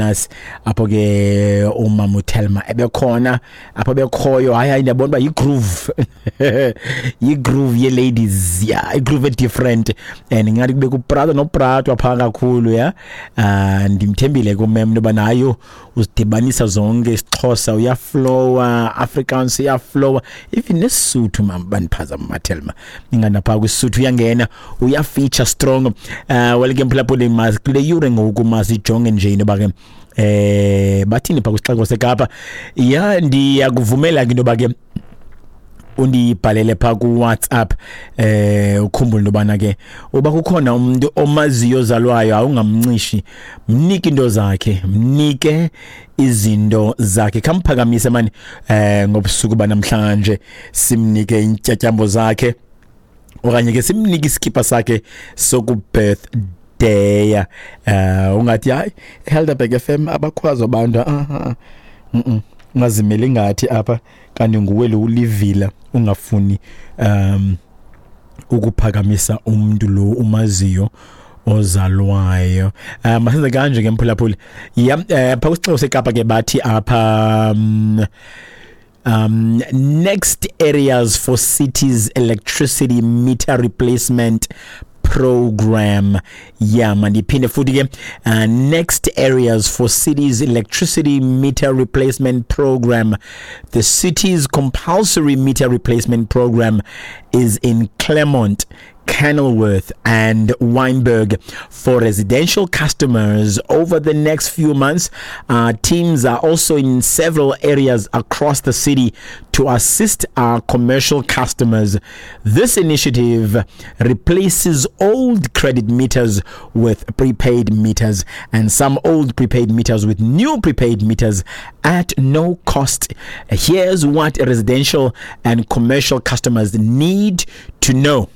Nas apho ke umama uThelma ebekhona apho bekhoyo. Hayi hayi, ndiyabona uba yi-groove, yi-groove ye-ladies, ya, i-groove different, and ngathi kube kuprata nopratwa phaa kakhulu ya. Ndimthembile kumem into yoba nayo uzidibanisa zonke, isiXhosa uyaflowa, Afrikaans uyaflowa, even nesiSuthu. Mama, bandiphazama, maThelma, ingandapha kwisuthu uyangena, uyafeature strong. Well ke mphulaphuli, mas kule yure ngoku masijonge nje into yoba ke bathini pha kwisixeko seKapa. Ya, ndiyakuvumela ke into yoba ke undibhalele pha kuWhatsApp, ukhumbule into yobana ke uba kukhona umuntu omaziyo ozalwayo, awungamncishi, mnike into zakhe, mnike izinto zakhe, khamphakamise mani ngobusuku banamhlanje, simnike intyatyambo zakhe okanye ke simnike iskipa sakhe sokubirthday. Ungathi hayi, Helderberg FM abakhwazi abantu. Ah, ah. Ungazimeli ngathi apha kanti nguwe lo ulivila ungafuni ukuphakamisa umuntu lo umaziyo ozalwayo. Masenze kanje ke mphulaphuli. Ya, pha kwisixeko seKapa ke bathi apha next areas for cities electricity meter replacement program. Yeah, mandiphinde futhi ke, next areas for cities electricity meter replacement program. The city's compulsory meter replacement program is in Claremont, Kenilworth and Wynberg for residential customers over the next few months. Teams are also in several areas across the city to assist our commercial customers. This initiative replaces old credit meters with prepaid meters and some old prepaid meters with new prepaid meters at no cost. Here's what residential and commercial customers need to know.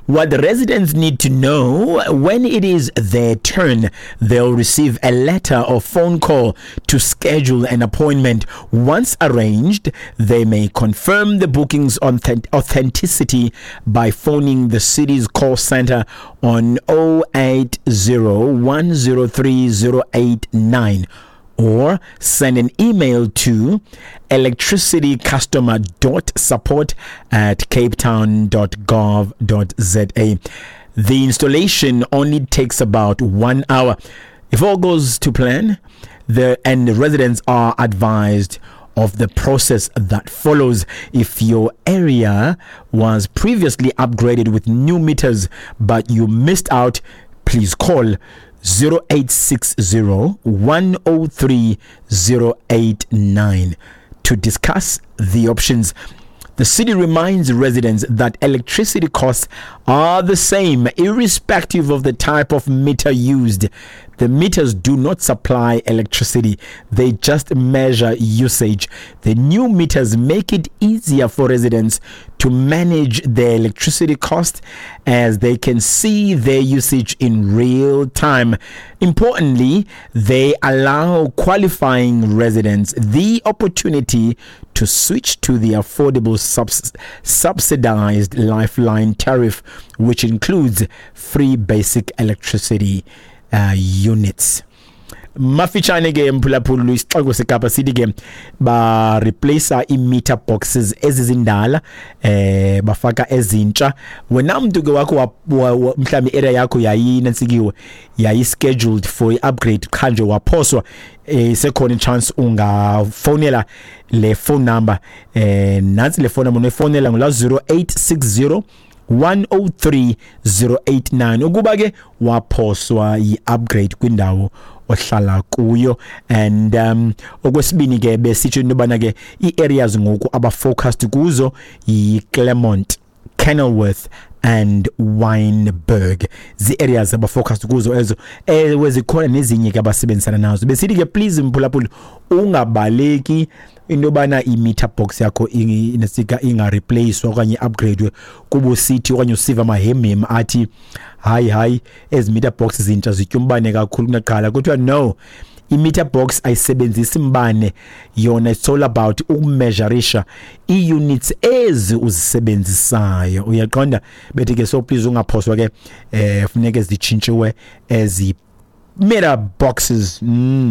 What the residents need to know: when it is their turn, they'll receive a letter or phone call to schedule an appointment. Once arranged, they may confirm the booking's authenticity by phoning the city's call center on 080 103 089 or send an email to electricitycustomer.support@capetown.gov.za. The installation only takes about one hour. If all goes to plan, the residents are advised of the process that follows. If your area was previously upgraded with new meters but you missed out, please call 0860 103 089 to discuss the options. The city reminds residents that electricity costs are the same irrespective of the type of meter used. The meters do not supply electricity, they just measure usage. The new meters make it easier for residents to manage their electricity cost as they can see their usage in real time. Importantly, they allow qualifying residents the opportunity to switch to the affordable subsidized Lifeline tariff, which includes free basic electricity units. Mafitshane ke mphulaphula, isixeko seKapa sithi ke ba replace i-meter boxes ezizindala, bafaka ezintsha. Wena mntu ke wakho mhlawumbi area yakho yayinantsikiwe, yayi scheduled for i-upgrade, qha nje waphoswa, sekhona i-chance ungafonela le phone number. Nantsi le phone number unoyifonela, ngula 0860 103 089, ukuba ke waphoswa yi-upgrade kwindawo ohlala kuyo. And okwesibini ke besitsho into yobana ke ii-areas ngoku abafocused kuzo yi-Claremont, Kenilworth and Wynberg, zii-areas abafocused kuzo ezo. Ewe, zikhona nezinye ke abasebenzisana nazo. Besithi ke please mphulaphuli, ungabaleki into yobana i-meter box yakho inesika ingareplacewa okanye i-upgradewe kuba usithi okanye usiva amahemhem athi hayi hayi, ezi meter box zintsha zitya umbane kakhulu kunaqala. Kuthiwa no, i-meter box ayisebenzisi mbane yona, it's all about ukumeasurisha ii-units ezi uzisebenzisayo, uyaqonda? Bethi ke so please ungaphoswa ke, funeke zitshintshiwe ezi Meter boxes.